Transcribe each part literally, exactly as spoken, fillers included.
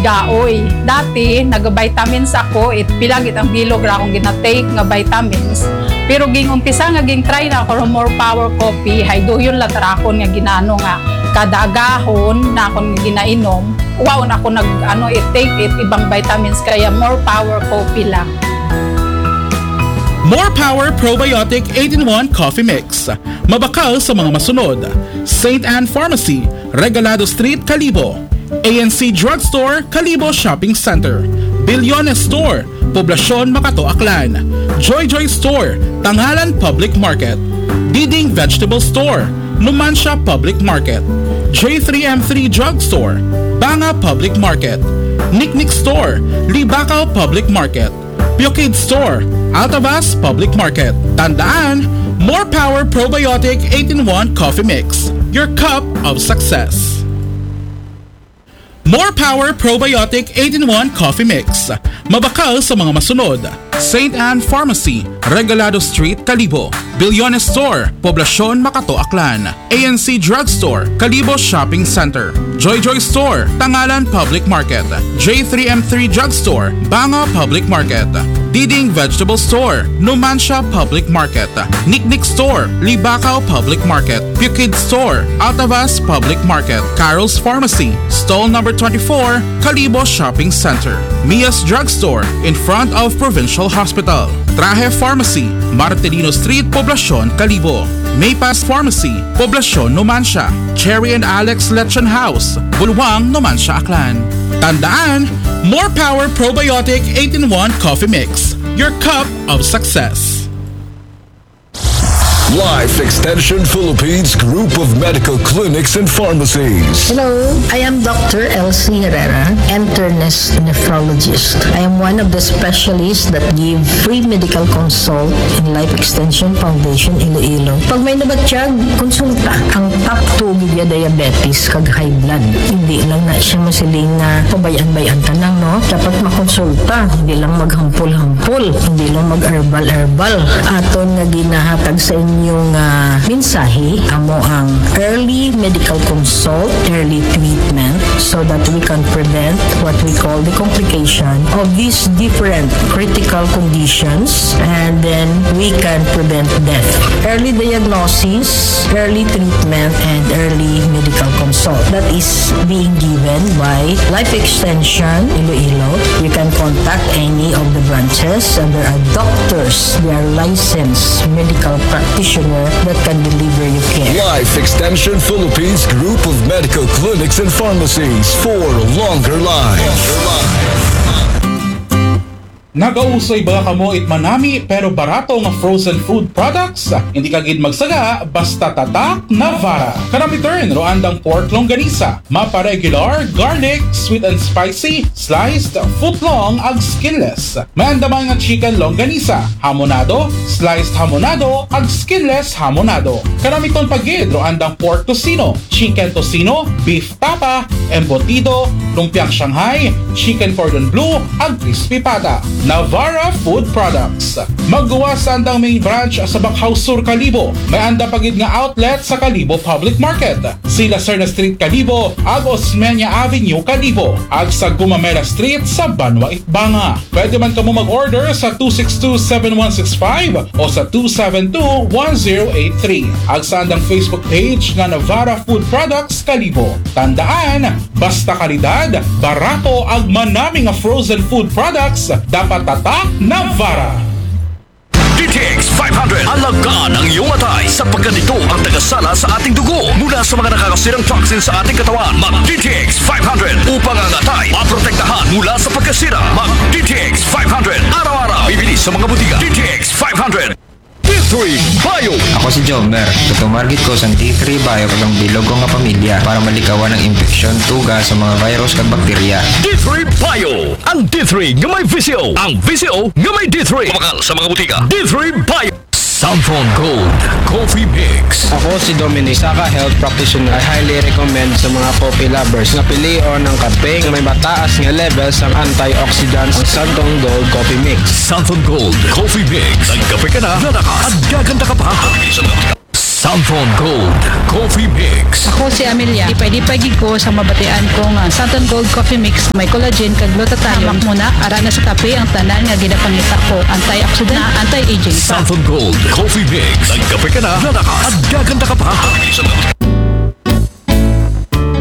Gaoy. Dati, nag-vitamins ako, it pila gid ang bilog ra akong gina-take nga vitamins. Pero ging-umpisa nga ging-try na ako ron More Power Coffee, hay duyon la ta ra akon nga ginaano nga kada agahon na akon ginainom. Wa na ako nag, ano, i-take it ibang vitamins, kaya More Power Coffee lang. More Power Probiotic eight-in-one Coffee Mix. Mabakal sa mga masunod: Saint Anne Pharmacy, Regalado Street, Kalibo. A N C Drugstore, Kalibo Shopping Center. Bilyones Store, Poblacion, Makato, Aklan. Joy Joy Store, Tangalan Public Market. Diding Vegetable Store, Numancia Public Market. J three M three Drugstore, Banga Public Market. Niknik Store, Libacao Public Market. Pure Kid Store, Altavas Public Market. Tandaan, More Power Probiotic eight-in-one Coffee Mix, your cup of success. More Power Probiotic eight-in-one Coffee Mix. Mabakal sa mga masunod: Saint Anne Pharmacy, Regalado Street, Kalibo. Bilyones Store, Poblacion, Makato, Aklan. A N C Drugstore, Kalibo Shopping Center. Joy Joy Store, Tangalan Public Market. J three M three Drugstore, Banga Public Market. Diding Vegetable Store, Numancia Public Market. Niknik Store, Libacao Public Market. Pure Kid Store, Altavas Public Market. Carol's Pharmacy, Stall Number twenty-four, Kalibo Shopping Center. Mia's Drugstore, in front of Provincial Hospital. Trahe Pharmacy, Marcelino Street, Poblacion, Kalibo. Maypass Pharmacy, Poblacion, Numancia. Cherry and Alex Lechon House, Bulwang, Numancia, Aklan. Tandaan, More Power Probiotic eight-in-one Coffee Mix, your cup of success. Life Extension Philippines Group of Medical Clinics and Pharmacies. Hello, I am Doctor Elsie Herrera, internist nephrologist. I am one of the specialists that give free medical consult in Life Extension Foundation Iloilo. Pag may nabatyag, konsulta. Ang top two gid ya diabetes kag high blood. Hindi lang na siya masiling nga pabay-an-bay-an ta lang, no? Dapat makonsulta, hindi lang maghampol-hampol, hindi lang mag-herbal-herbal. Aton nga ginahatag sa inyo nga mensahe, amo ang early medical consult, early treatment, so that we can prevent what we call the complication of these different critical conditions, and then we can prevent death. Early diagnosis, early treatment, and early medical consult. That is being given by Life Extension Iloilo. You can contact any of the branches, and there are doctors, they are licensed medical practitioner that can deliver you care. Life Extension Philippines Group of Medical Clinics and Pharmacies for longer life. Nagausoy ba kamo it manami pero barato nga frozen food products? Hindi ka gid magsaga basta tatak Navara. Kanami turn ro andang pork longganisa, mapa regular, garlic, sweet and spicy, sliced, foot long ag skinless. May andamay nga chicken longganisa, hamonado, sliced hamonado ag skinless hamonado. Kanami ton pagid ro andang pork tocino, chicken tocino, beef tapa, embutido, lumpiang Shanghai, chicken cordon bleu, ag crispy pata. Navara Food Products. Magguwas sa andang main branch sa Bacau Sur, Kalibo. May anda pagid nga outlet sa Kalibo Public Market, Sila Serna Street, Kalibo, ag Osmeña Avenue, Kalibo, ag sa Gumamela Street sa Banwa, Itbanga. Pwede man kamo mag-order sa two six two, seven one six five o sa two seven two, one zero eight three. Ag sa andang Facebook page nga Navara Food Products Kalibo. Tandaan, basta kalidad, barato ag manami nga frozen food products, dapat tatak Navara. D T X five hundred. Alagaan ang iyong atay sapagkat ito ang tagasala sa ating dugo mula sa mga nakakasirang toxin sa ating katawan. Mag D T X five hundred upang ang atay maprotektahan mula sa pagkasira. Mag D T X five hundred araw-araw. Bibili sa mga botika. D T X five hundred. D three Bio. Ako si Jomer. Tutumarget ko sa D three Bio kag ang bilog ko nga pamilya para malikawan ang impeksyon, tuga sa mga virus kag bakterya. D three Bio. Ang D three nga may V C O. Ang V C O nga may D three. Mabakal sa mga botika. D three Bio. Santhon Gold Coffee Mix. Ako si Dominic, isa ka health practitioner. I highly recommend sa mga coffee lovers na pilion ang kape nga may mataas nga level sa antioxidants, ang Santhon Gold Coffee Mix. Santhon Gold Coffee Mix. Nagkape ka na, lalakas, at gaganda ka pa. Santon Gold Coffee Mix. Ako si Amelia. Lipay-lipay gid ko sa mabatian ko nga Santon Gold Coffee Mix may collagen kag glutathione. Hamak mo na, ara na sa kape ang tanan nga ginapangita ko. Antioxidant, anti-aging pa. Santon Gold Coffee Mix. Nagkape ka na, lalakas at gaganda ka pa.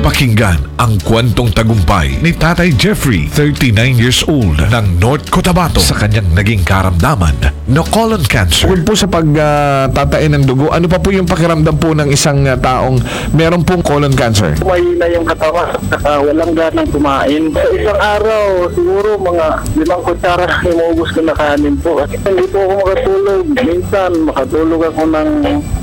Pakinggan ang kwentong tagumpay ni Tatay Jeffrey, thirty-nine years old, ng North Cotabato, sa kanyang naging karamdaman na colon cancer. Bukod po sa pagtatain ng dugo, ano pa po yung pakiramdam po ng isang ah, taong meron pong colon cancer? Mahina yung katawan, saka walang ganang kumain. Sa isang araw, siguro mga limang kutsara na yung maubos ko na kanin po. Kasi hindi po ako makatulog. Minsan, makatulog ako ng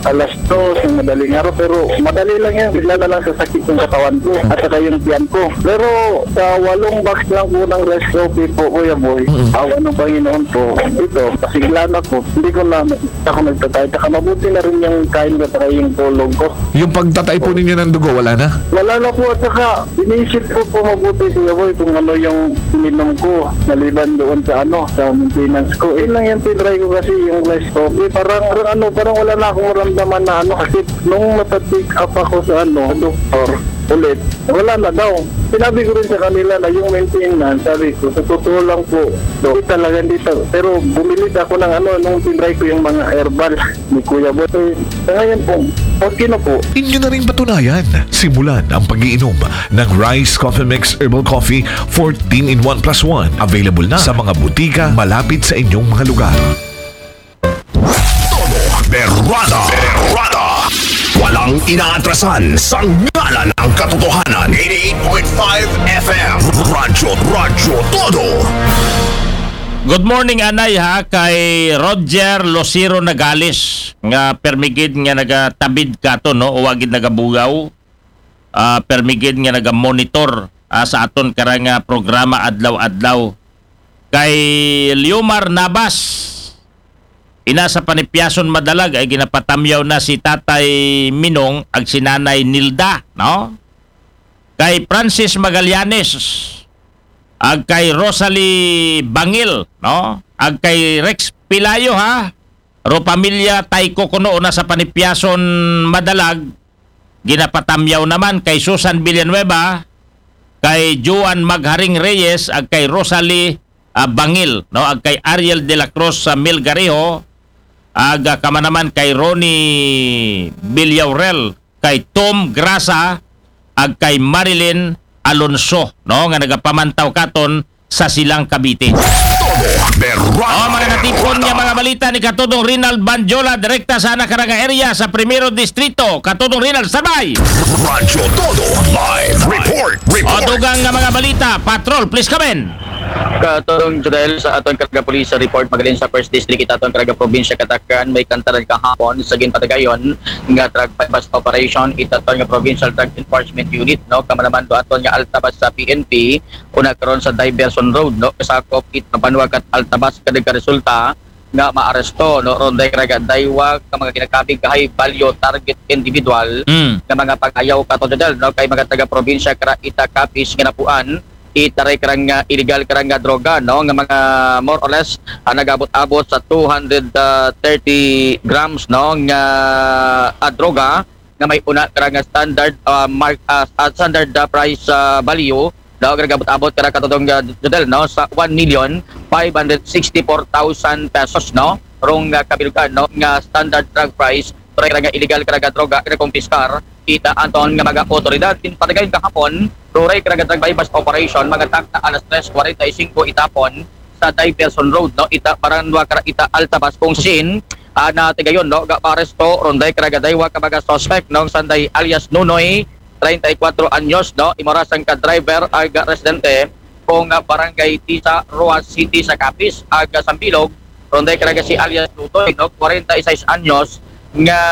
alas dos ng madaling araw, pero madali lang yan. Bigla na lang sasakit yung katawan ko at saka yung tiyan ko. Pero sa walong box lang po ng rice coffee po, Kuya Boy, awa ng Panginoon po, ito, pasigla na po. Hindi ko na ako nagtatay. Saka mabuti na rin yung kain ko at saka yung tulog ko. Yung pagtatay po ninyo ng dugo, wala na? Wala na po at saka inisip ko po mabuti, Kuya Boy, kung ano yung ininom ko maliban doon sa ano, sa maintenance ko. Yun lang yung tinry ko kasi yung rice coffee. Parang, parang ano, parang wala na akong maramdaman na ano kasi nung napa-check up ako sa ano, sa doktor ulit, wala na daw. Sinabi ko rin sa kanila na yung maintenance, sabi ko, sa totoo lang po, do, talaga hindi ta- pero bumili ako ng ano, nung tinry ko yung mga herbal ni Kuya Boy. Eh, sa ngayon po, okay na po. Inyo na rin patunayan. Simulan ang pag-iinom ng Rice Coffee Mix Herbal Coffee fourteen in one plus one. Available na sa mga butika malapit sa inyong mga lugar. Todo Berrada. Berrada. Walang inaatrasan sa ngalan ng katotohanan. eighty-eight point five F M. Radyo, Radyo Todo. Good morning, Anay, ha, kay Roger Lucero Nagales, nga permigid nga nagatabid kato, no, o wagid nagabugaw, ah, permigid nga nagamonitor, ah, sa aton karang, ah, programa adlaw-adlaw. Kay Liomar Nabas, ina sa Panipyason Madalag, ay ginapatamyaw na si Tatay Minong ag si Nanay Nilda, no? Kay Francis Magallanes, ag kay Rosalie Bangil, no? Ag kay Rex Pilayo, ha? Ro pamilya Tayko kuno una sa Panipyason Madalag, ginapatamyaw naman kay Susan Villanueva, kay Juan Magharing Reyes, ag kay Rosalie, ah, Bangil, no? Ag kay Ariel de la Cruz sa Milgarejo, ag, ah, kama naman kay Ronnie Villaurel, kay Tom Grasa, ag kay Marilyn Alonso, no, nga nagapamantaw katon sa Silang Cavite. Todo Berrada. Oh, mga natipon nga mga balita ni Katudong Rinald Banjola, direkta sa anak karang area sa Primero Distrito. Katudong Rinald, sabay! Radyo Todo Live Report. O, Report. dugang nga mga balita, Patrol, please come in. Katulong Jodel sa aton karga police report, magalin sa First District, itaton karga probinsya Katakan, may kantaran kahapon sa ginpatagayon nga drug buy-bust operation, itaton nga provincial drug enforcement unit, no, kamanaman do aton nga Altabas sa P N P, una karon sa Diversion Road, no, kasakop it Mabanwa kat Altabas, kada resulta nga maaresto, no, ron day karga daywa ka mga ginakabig high value target individual Mm. nga mga pag-ayaw kato Jodel, no, kay mga taga probinsya kara ita kapis nga napuan itaray karang ah, illegal karang ah, droga, no, nga mga more or less ah, nagabot-abot sa two hundred thirty grams, no, nga ah, droga nga may una karang ah, standard ah, mark ah, ah, standard ah, price ah, value, no, nga nagabot-abot karang katudong ah, Jodel, no, sa one million five hundred sixty-four thousand pesos, no, rong ah, kabilugan, no, nga standard drug price, taray karang ah, illegal karang ah, droga nga nakumpiskar ita aton nga mga otoridad. Ginpatagayon kahapon, ruray karang ah, drug buy-bust operation, mga takna alas tres kwarenta y singko itapon sa Diversion Road, no, ita Baranwa kara ita Altabas, kung sin ah, natagayon, no, ga maaresto ron day karang ah, daywa ka mga suspect, no, sanday alias Nunoy, treinta y cuatro anyos, no, imorasang ka driver ag residente kung ah, barangay Tisa, Roxas City sa Capiz, ag Sambilog, ron day karang ah, si alias Lutoy, no, kwarenta y seis anyos, nga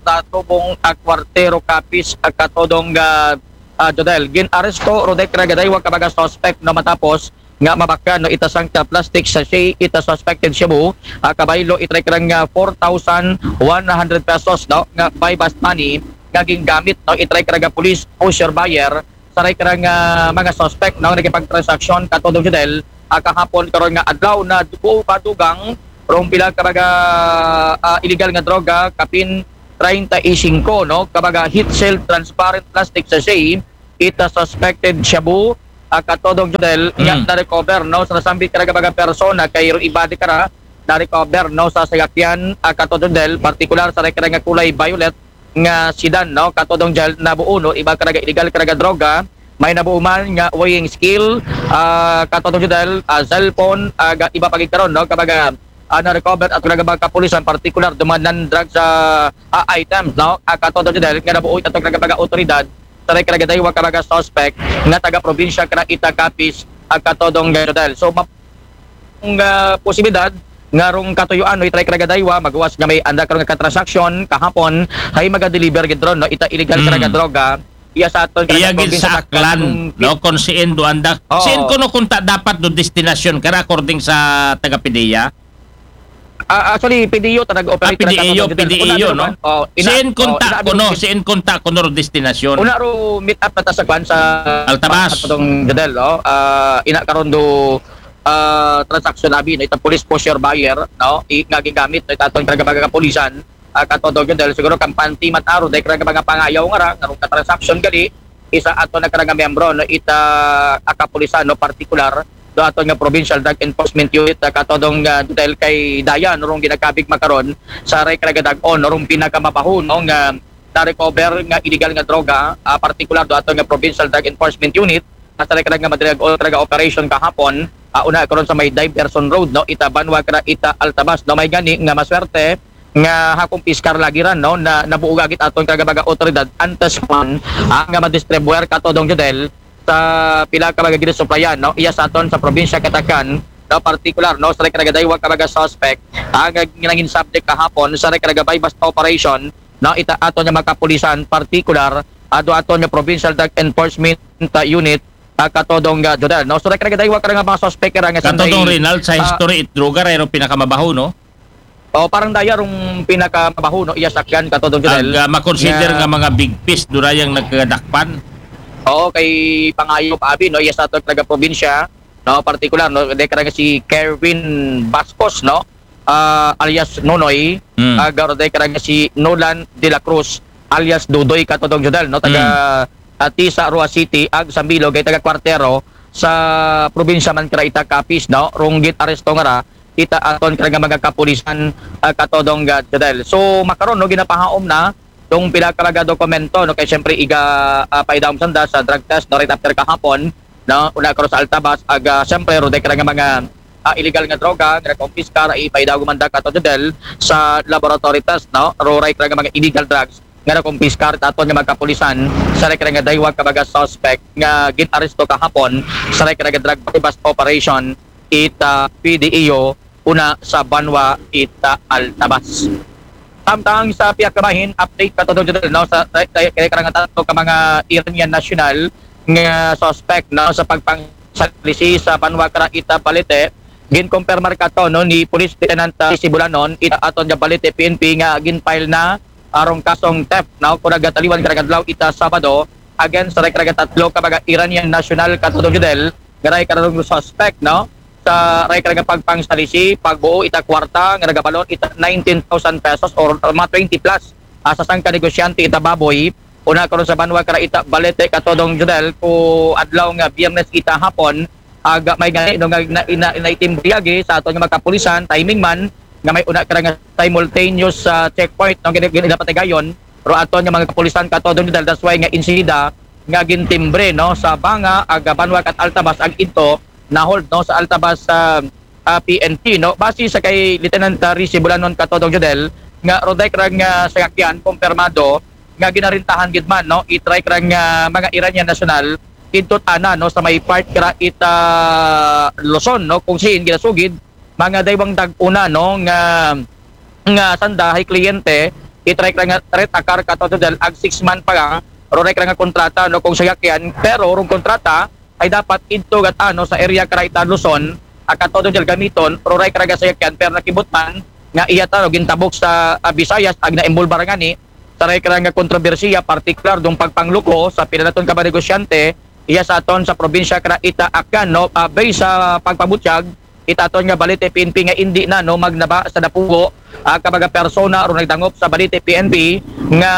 tatubong ah, kwartero Capiz, ah, katudong ah, ah, Jodel. Gin-aresto ron day karang ah, daywa ka mga suspect, no, matapos nga mabakan, no, ita sangka plastic sachet ita suspected shabu, ah, kabaylo itaray karang ah, four thousand one hundred pesos, no, nga buy-bust money nga gingamit, no, itaray karang ah, police poseur buyer sa taray karang ah, mga suspect, no, nagipagtransaksyon katudong Jodel, ah, kahapon karon nga adlaw na dugo pa dugang rong pila ka mga ah, illegal nga droga, kapin treinta y cinco, no? Kabaga heat-sealed transparent plastic sachet, ita suspected shabu, ah, katodong Jodel, nga Mm. na-recover, no? Sa nasambit karaga baga persona, kay ro iba di kara, na-recover, no? Sa sayakyan, ah, katodong Jodel, partikular sa karaga kulay violet nga sedan, no? Katodong Jodel, nabuo, no? Iba karaga illegal karaga droga, may nabuo man nga weighing scale, ah, katodong Jodel, ah, cellphone, ah, ga-, iba pagigkaron, no? Kabaga, ah, na-recover at karaga baga kapulisan, partikular, dumanan drugs sa, ah, items, no? Ah, katodong Jodel, nga nabuo ito karaga baga otoridad, sa karaga daywa kabaga suspect, nga taga probinsya kara ita Capiz, ah, katodong Jodel. So, map-, nga posibilidad, nga rong katuyuan, no, itry karaga daywa, magawas nga may anda karon nga katransaksyon, kahapon, hay maga-deliver gid ron, no, ita illegal Mm. karaga droga, iya sa aton karaga Iya gid probinsya sa Aklan, nung no, kung siin do anda. Oo. Siin kuno kung ta dapat do destinasyon kara according sa taga PDEA? Ah, actually, PDEO ta nag-operate Ah, PDEO, na katong Jodel. PDEO, Una, no? oh, ina-, Siin oh, kontak ina-, kuno, siin kontak kuno destinasyon? Una ro meet up na ta sa kwan sa Altabas. Katong Jodel, oh. Ah, ina karon do, ah, transaction abi, no, ita police poseur buyer, no, i, nga gigamit, no, ita aton karaga baga kapulisan, ah, katodong Jodel, siguro kampante man aro, dahil karaga mga pangayaw nga ra, nga rong katransaksyon gali, isa ato na karaga miyembro, no, ita, ah, kapulisan, no, partikular, do aton nga Provincial Drug Enforcement Unit, ah, katodong, ah, Jodel kay Dayan, rong ginakabig makaron, sa ray karaga dag-on, rong pinakamabaho, no, nga na-recover nga illegal nga droga, ah, partikular do aton nga Provincial Drug Enforcement Unit, at sa karaga madriag o karaga operation kahapon, ah, una karon sa may Diversion Road, no, ita banwa kara ita Altabas, no, may gani nga maswerte nga hakumpiskar lagi ran, no, na nabuo gagit aton karaga baga otoridad antes man, ah, nga madistribuer katodong Jodel sa pila ka baga ginasuplayan, no, iya sa aton sa probinsya katakan, no, partikular, no, sa karaga daywa kabaga suspect, ah, nga nangin subject kahapon sa karaga buy-bust operation, no, ita aton nga mga kapulisan, partikular, ah, do aton nga Provincial Drug Enforcement, ah, Unit, ah, katodong, ah, Jodel, no? So, karaga daywa karaga mga suspect kara nga sanday, Katodong Rinald, sa ah, history it droga, ray ro pinakamabaho, no? Oh, parang daya rong pinakamabaho, no? Iya sakyan katodong Jodel. Ag, ah, makonsider Nga nga mga big fish, durayang nagkadakpan. Oo, kay pangayo pa abi, no? Iya sa aton karaga probinsya, no? Partikular, no? Dahil karaga si Kerwin Bascos, no? Ah, alias Nonoy, Mm. ah, garo dahil karaga si Nolan de la Cruz, alias Dudoy katodong Jodel, no? Taga, ah, Tisa, Roa City, ag Sambilo, kay taga Kwartero, sa probinsya man kara ita Capiz, no? Rong gin-aresto nga ra, ita aton karaga mga kapulisan, ah, katodong, ah, Jodel. So, makaron, no, ginapahaom na, dong pila karaga dokumento, no? Kay siyempre, iga, ah, paidawom sanda sa drug test, no? Right after kahapon, no? Una karon sa Altabas, ag, ah, siyempre, ro dahil karaga mga, ah, illegal nga droga, nga nakumpiskar, ipaidawom man da kato Jodel sa laboratory test, no? Ro ray karaga mga illegal drugs, nga nakumpiskar aton nga mga kapulisan, sa ray karaga daywa kabaga suspect, nga gin-aresto kahapon, sa ray karaga drug buy-bust operation, ita PDEO, una sa banwa, ita Altabas. Samtang sa pihak ka bahin, update katodong Jodel, no? Sa, kay, kay, kay karang tatlo ka mga Iranian national nga suspect, no, sa pagpangsalisi sa banwa kara ita Balete, ginkumpirmar kato, no, ni Police Lieutenant, ah, Sibulanon, ita aton nga Balete P N P nga gin-file na arong kasong theft, no, kung nagataliwan karang adlaw ita Sabado, against sa karaga tatlo ka mga Iranian national katodong Jodel, nga ray karong suspect, no, sa ray karaga pagpangsalisi, pagbuo ita kwarta, nga nagabalon ita nineteen thousand pesos or mga twenty plus, ah, sa sangka negosyante ita baboy, una karon sa banwa kara ita Balete katodong Jodel, ko adlaw nga Biyernes ita hapon, aga may gani, no, nga na, ina, naitimbre agi sa aton nga mga kapulisan, timing man, nga may una kara nga simultaneous, ah, checkpoint, no, gina-, gina-, patigayon, ro aton nga mga kapulisan katodong Jodel, that's why nga insidida, nga gintimbre, no, sa Banga, ag Banwa kat Altabas, ag ito, na-hold, no, sa Altabas, ah, ah, P N P, no. Base sa kay Lieutenant, ah, Rizy Bulanon katodong Jodel, nga ro dahil karang, ah, sayakyan, kumpirmado, nga ginarintahan gid man, no, itry karang, ah, mga Iranian national, didto ana, no, sa may part kara ita Luzon, no, kung siin ginasugid, mga daywang dag-una, no, nga, nga sanda hay kliyente, itry karang rent a car katodong Jodel, ag six month pa lang, ro ray karang kontrata, no, kung sayakyan, pero rong kontrata, ay dapat idto gat ano sa area kara ita Luzon, a katodong Jodel gamiton, ro ray karaga sayakyan, pero nakibutman, nga iya taro, gintabok sa, ah, Visayas, ag naimbolbar ngani, sa ray karang kontrobersiya, partikular dong pagpangluko sa pila naton ka mga negosyante, iya sa aton sa probinsya kara ita Aklan, no? Ah, based sa pagpabutyag, ita aton nga Balite P N P nga indi na, no, magnaba sa napugo, ah, ka mga persona rong nagdangop sa Balite P N P nga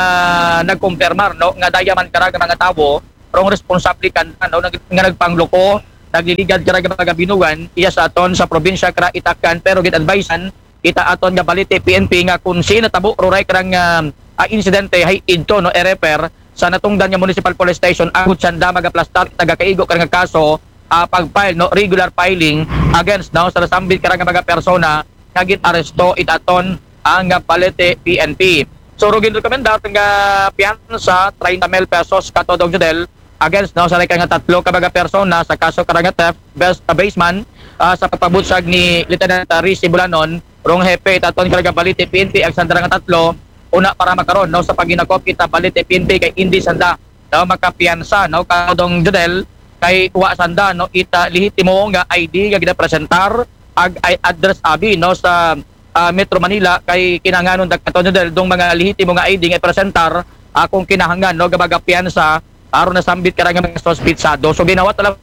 nagkumpirmar, no, nga daya man kara nga mga tawo rong responsable kanda, no, nag-, nga nagpangluko, nagliligad kara nga mga binugan iya sa aton sa probinsya kara itakan, pero gin-advisean ita aton nga Balite P N P nga kung si natabo ruray karang, ah, ah, insidente, hay idto, no, i-refer sa natungdan nga Municipal Police Station agud sanda magaplastar ita gakaigo kara nga kaso, ah, pag-file, no, regular filing against, no, sa nasambit kara nga mga persona nga gin-aresto ita aton ang, ah, Balite P N P. So, rong ginrekomendar nga piyansa treinta mil pesos ka Todong Jodel against, no, sa kara nga tatlo ka mga persona sa kaso kara nga theft, bas-, abasement, ah, sa pagpabutyag ni Lieutenant, ah, Rizy Bulanon, rong hepe ita aton kara nga Balite P N P, ag sanda ra nga tatlo, una para makaron, no, sa paghinakop ita Balite P N P kay indi sanda, no, makapiyansa, no, ka Todong Jodel, kay wa sanda, no, ita lehitimo nga I D nga ginapresentar, ag, ay address abi, no, sa, ah, Metro Manila, kay kinahanglanon da ka Todong Jodel dong mga lehitimo nga I D nga ipresentar, ah, kung kinahanglan, no, nga magapiyansa, aron nasambit kara nga mga suspetsado. So, ginawa talaga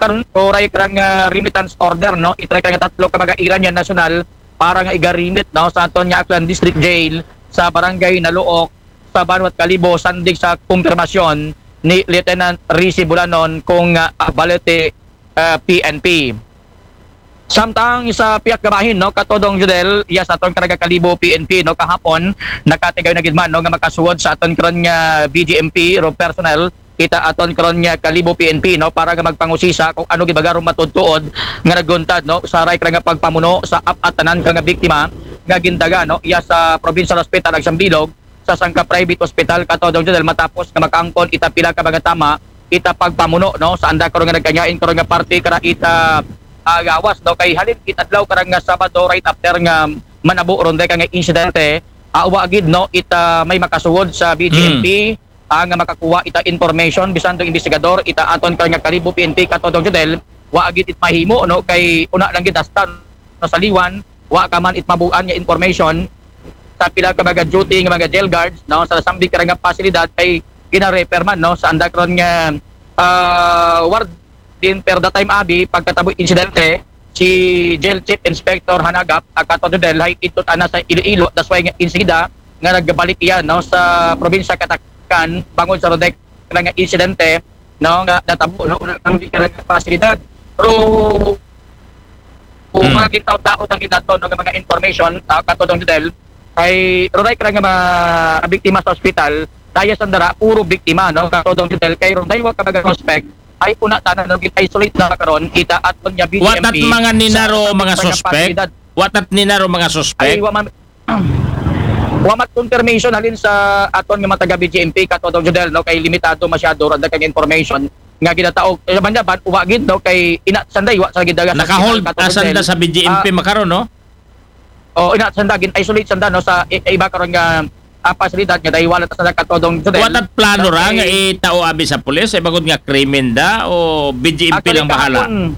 karon, ruray karang, ah, remittance order, no? Itry kara nga tatlo ka mga Iranian national para nga iga-remit, no, sa aton nga Aklan District Jail sa Barangay Naluok sa Banwat Kalibo, sandig sa kumpirmasyon ni Lieutenant Rizy Bulanon kung, ah, Balete, ah, P N P. Samtang sa pihak nga bahin, no, ka Todong Jodel, iya sa aton kara nga Kalibo P N P, no, kahapon, nakatigayon na gid man, no, nga makasuod sa aton karon nga B J M P, ro personnel, ita aton karon nga Kalibo P N P, no, para nga magpangusisa kung ano gid baga rong matuod-tuod nga nagluntad, no, sa ruray kara nga pagpamuno sa ap-, at tanan kara nga biktima nga gindaga, no, iya sa Provincial Hospital ag Sambilog, sa sangka private hospital ka Todong Jodel matapos nga makaangkon ita pila ka mga tama ita pagpamuno, no, sa anda karon nga nagkanyain karon nga parte kara ita, ah, gawas, no, kay halin it adlaw kara nga Sabado right after nga manabo ron day ka nga insidente, ah, wa gid, no, ita may makasuod sa B J M P, ah, nga makakuha ita information bisan tong investigador ita aton kara nga Kalibo P N P ka Todong Jodel, wa gid it mahimo, no, kay una lang gid hasta, no, sa liwan, wa ka man it mabuan nga information sa pila ka mga duty nga mga jail guards, no, sa nasambit kara nga pasilidad kay gina-refer man, no, sa anda karon nga, ah, warden, pero that time abi pagkatabo insidente si Jail Chief Inspector Hanagap, ah, ka Todong Jodel, hay idto tana sa Iloilo, that's why nga insida nga nagbalik iya, no, sa probinsya katakan bangod sa ron day kara nga insidente, no, nga natabo, no, una kang di kara nga pasilidad. Pero kung mga gitaw-taod ang ginato, no, nga mga information, ah, ka Todong Jodel, ay ruray kara nga mga biktima sa ospital, daya sanda ra, puro biktima, no, ka Todong Jodel, kay rong daywa ka mga suspect, ay una tana, no, gin-isolate na karon ita aton nga B J M P. Watat mga ninaro mga suspect? Watat ninaro mga suspect? Ay, wa man, wa mat confirmation halin sa aton nga mga taga B J M P ka Todong Jodel, no, kay limitado masyado ra kang information nga ginataog. Eh, man, wa gid, no, kay ina sanday wa sa gidaga sa naka-hold sanda sa B J M P makaron, no? O, ina sanda gin-isolate sanda, no, sa i-, iba karon nga, ah, pasilidad nga daywa lang ta sanda ka Todong Jodel. Watat plano ra nga itao abi sa pulis, ay bangod nga krimen da o B J M P lang bahala? Actually, kahapon,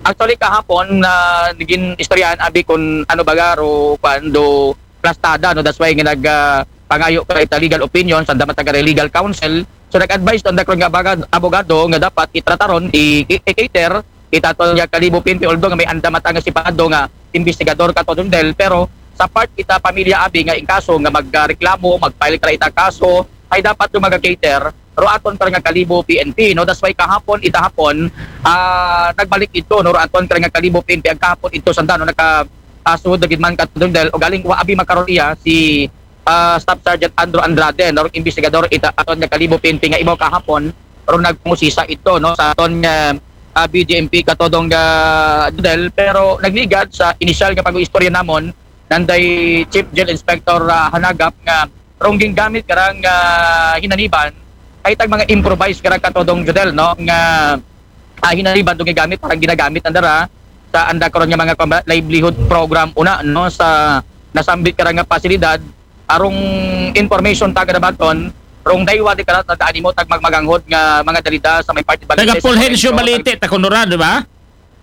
actually, kahapon, na naging istoryahan abi kung ano baga ro, kuan, do plastada, no? That's why nga nag, ah, pangayo ka ita legal opinion sa anda man ta kara legal counsel. So, nag-advise ang anda karon nga abogad-, abogado nga dapat itrataron, i-, i-, i-cater ita aton nga Kalibo P N P, although nga may anda man ta nga separado nga investigador ka Todong Jodel, pero sa part ita pamilya abi nga in kaso nga magreklamo, mag-file kara ita kaso, ay dapat do maga-cater ro aton kara nga Kalibo P N P, no? That's why kahapon, ita hapon, ah, nagbalik idto, no, ro aton kara nga Kalibo P N P, ag kahapon idto sanda, no, naka, ah, sud na gid man ka Todong Jodel, ugaling wa abi makaron iya si, ah, Staff Sergeant Andrew Andrade, no, investigador ita aton nga Kalibo P N P nga imaw kahapon ro nagpangusisa idto, no, sa aton nga, ah, B J M P ka Todong, ah, Jodel, pero nagligad sa inisyal nga pag-istorya namon nanday Chief Jail Inspector, ah, Hanagap nga rong gingamit karang, ah, hinaniban, ay tag mga improvised kara ka Todong Jodel, no, nga, ah, hinaniban dong gigamit, parang ginagamit anda ra sa anda karon nga mga, kuwan ba, livelihood program una, no, sa nasambit kara nga pasilidad, arong information ta gadabaton, rong daywa di kara ta animo tag magmaganghod nga mga dalida sa may parte Balite, taga Fulgencio, Balite ta kunora, di ba?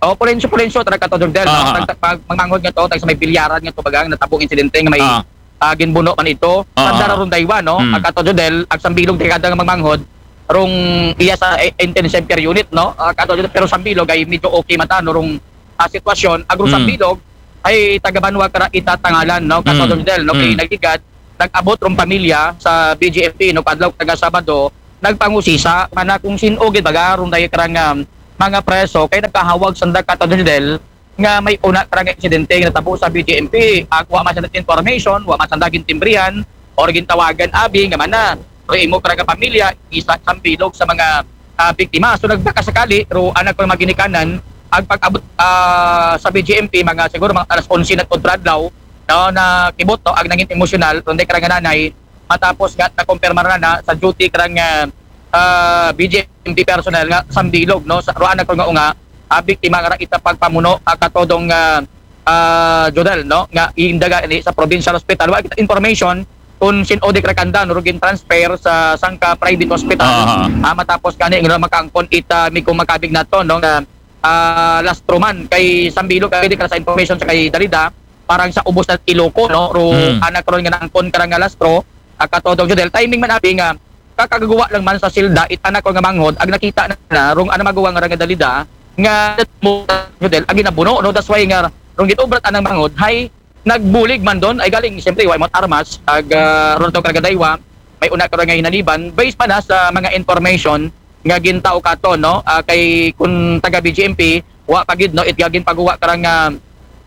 O, Fulgencio, Fulgencio, taga ka Todong Jodel, no? Tag, tag, pag magmanghod nga to, tag sa may bilyaran nga to, bagang natabong insidente nga may, ah, ginbuno man ito. Sanda ra rong daywa, no? Ag ka Todong Jodel, ag Sambilog, taga nga magmanghod, rong iya sa, eh, intensive care unit, no? Ag ka Todong Jodel, pero Sambilog ay medyo okay man ta, no? Rong ah, sitwasyon, agro Mm. Sambilog, ay taga-banwa kara ita Tangalan, no? Kato Mm. Dong Jodel, no? Kay Mm. nagligad, nag-abot rong pamilya sa B J M P, no? Kadlaw kara nga Sabado, nagpangusisa, mana kung sin-o gid baga, rong daya kara nga mga preso, kay nagkahawag sanda kato Dong Jodel, nga may una kara nga insidente nga natabo sa B J M P. Ag, wa man sanda information, wa man sanda gintimbrihan, or gintawagan abi nga mana, pero imo kara nga pamilya, isa Sambilog sa mga ah, biktima. So nagpakasakali, ro anak ko mga ginikanan, ang pag-abot ah, sa B J M P, mga siguro mga alas onse na to adlaw, no, na kibot, no, ang nangin emosyonal, ron dai kara nga nanay, matapos nga nakumpirma na na sa duty karang ah, ah, B J M P personnel nga Sambilog, no, sa ro anak ko nga unga, ah, biktima nga ita pagpamuno, ah, kato Dong ah, ah, Jodel, no, nga indaga ni sa provincial hospital. Wa kita information kung sin-o di kara kanda, no, ro gin-transfer sa sangka private hospital. Ah. Ah, matapos kani nga makaangkon ita mi kung makabig nato, no, nga ah, lastro man kay Sambilog, kay di kara sa information sa kay Dalida, parang sa ubos na Iloco, no, ro Mm. anak ron nga naangkon kara nga lastro, ah, kato Dong Jodel. Timing man abi nga kakagawa lang man sa silda, it anak ko nga manghod, ag nakita na, na rong ana maguwang nga Dalida, nga mo Jodel, ag ginabuno, no, that's why nga rong gitubrat anang manghod, hay nagbulig man don, ay galing, siyempre, wa mo armas, ag ah, ron to kara gadaywa, may una kara nga hinaliban, based pa na sa mga information nga gintao kato, no, ah, kay kung taga B J M P, wa pa gid, no, it gagin pagguwa kara nga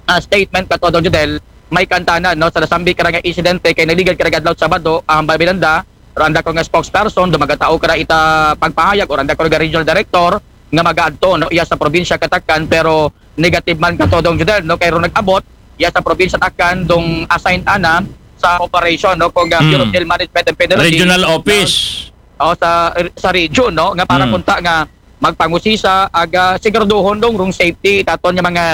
ah, statement kato Dong Jodel, may kantanan, no, sa nasambit kara nga insidente kay naligad kara gadlaw Sabado, ang Babilanda, randa ko nga spokesperson, dumagatao kara ita pagpahayag, o randa ko nga regional director, nga magaadto, no, iya sa probinsya Katakan, pero negative man kato Dong Jodel, no, kay ro nag-abot, iya sa probinsya Takan, dong assigned ana sa operation, no, kung ah, Bureau of Mm. Jail Management and Penology, Regional no, office. o sa sa region, no, nga para Mm. kunta nga magpangusisa, aga siguraduhon dong rong safety katon nga mga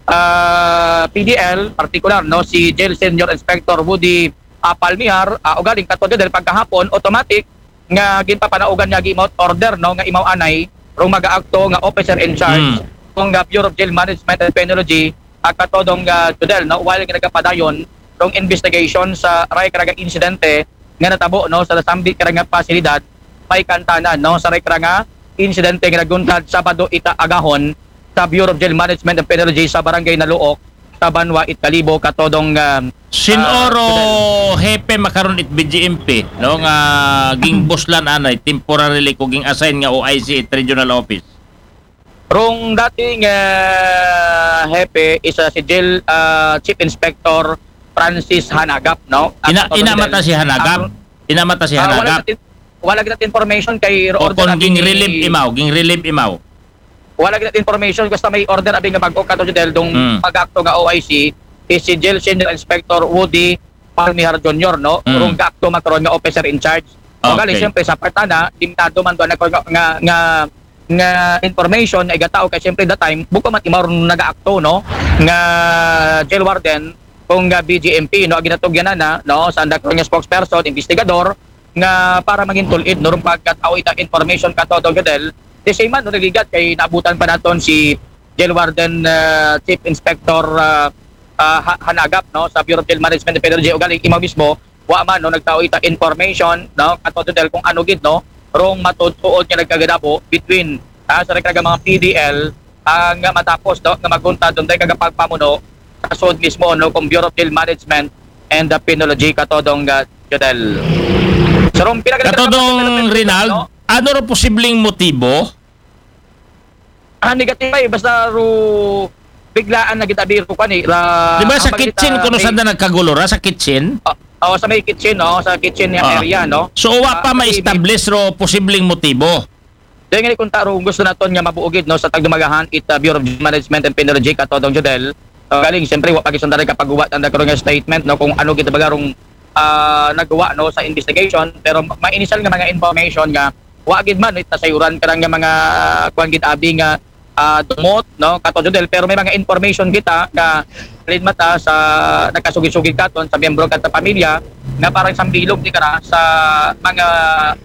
ah, P D L, partikular, no, si Jail Senior Inspector Woody ah, Palmihar, ah, ugaling kato Jodel pagkahapon, automatic nga ginpapanaugan nga gi-out order, no, nga imaw anay rong magaakto nga officer in charge Mm. kung nga Bureau of Jail Management and Penology, ah, kato Dong ah, Jodel, no, while nga nagapadayon rong investigation sa ray kara nga insidente nga natabo, no, sa nasambit kara nga pasilidad, may kantanan, no, sa ray kara nga insidente nga naguntad Sabado ita agahon sa Bureau of Jail Management and Penology sa Barangay Naluok, sa Banwa it Kalibo, kato Dong ah, Sin-o ro ah, hepe makaron it B J M P, no, nga ginbuslan anay temporarily ko ging-assign nga O I C it regional office. Rong dating ah, hepe, isa si Jail ah, Chief Inspector Francis Hanagap, no? At Ina kato ina Dong mata Jodel, si Hanagap. ang- Ina mata si ah, wala Hanagap. natin wala natin information kay O order kon abi ging ni- relieve imaw, ging relieve imaw. Wala gid natin information, basta may order abi nga bag-o kato Jodel dong Mm. pag-akto nga O I C is si Jail Senior Inspector Woody Palmihar Junior, no? Mm. Rong gaakto makaron nga officer in charge. O gali, Okay. siyempre, sa part ana, limitado man doon ako nga, nga, nga, nga information na igatao kay siyempre that time, buko man imaw ron nagaakto, no? Nga jail warden, kung nga B J M P, no? Ang ginatugyan na, no? Sa andang nga spokesperson, investigador, nga para mangin tulid, no? Rong pagkatao ita information kato, Dong Jodel. The same man, no? Nagligat kay naabutan pa naton si Jail Warden ah, Chief Inspector ah, ah, Ha- Hanagap, no, sa Bureau of Jail Management and Penology, ugaling imaw mismo, wa man, no, nagtao ita information, no, kato Dong Jodel, kung ano gid, no, rong matuod-tuod nga nagkagadabo between ah, sa ray kara nga mga P D L, ah, nga matapos, no, nga maguntad dong dai kagapagpamuno sa sud mismo, no, kung Bureau of Jail Management and the Penology, kato Dong ah, Jodel. So, rong pila ka Kato Dong development, Rinald, no? Ano ro posibleng motibo? Ah, negative ay, basta ro biglaan na gid abi ro kani ra. Di ba sa Ang bagay kitchen ta- kuno may- sanda nagkagulora sa kitchen? Oh, oh, sa may kitchen, no, sa kitchen nga Ah. area, no. So wa Ah, pa kasi ma-establish ro posibleng motibo. Dahil nga kung taro, gusto naton nga mabuo gid, no, sa tagdumagahan it ah, Bureau of Management and Penology, kato Dong Jodel. So, galing, siyempre, wa pa gid sanda ray kapaghuwat ang karon nga statement, no, kung ano gid baga rong ah, nagwa, no, sa investigation, pero ma- may initial nga mga information nga wa gid man it nasayuran karang nga mga kuan gid abi nga ah, dumot, no, kato Jodel, pero may mga information kita nga linmata sa nagkasugid-sugid katon sa miyembro kato pamilya nga parang sambilog ni kara sa mga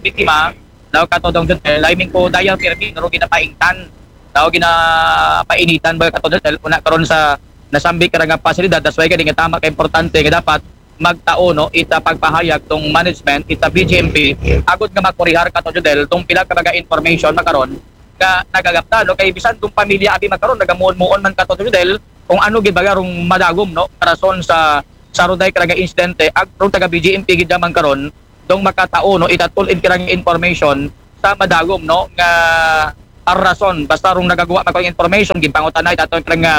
biktima, no, kato Dong Jodel, I mean ko dayang pirmi, no, ginapaingtan, no, ginapainitan ba, kato Jodel, una karon sa nasambit kara nga pasilidad. That's why kani nga tama ka importante nga dapat magtao, no, ita pagpahayag tong management, ita B J M P, agud nga makurihar, kato Jodel, tong pila ka mga information makaron nga nagagapta, no? Kay bisan rong pamilya abi man karon nagamuon-muon man, Kato Jodel, kung ano gid baga rong madagom, no, nga rason sa, sa rong diay kara nga insidente, ag rong taga B J M P gid man karon, dong makatao, no, itatulid kara nga information sa madagom, no, nga rason. Basta rong nagagwa man karon information, ginpangutan-an, itatulid kara nga,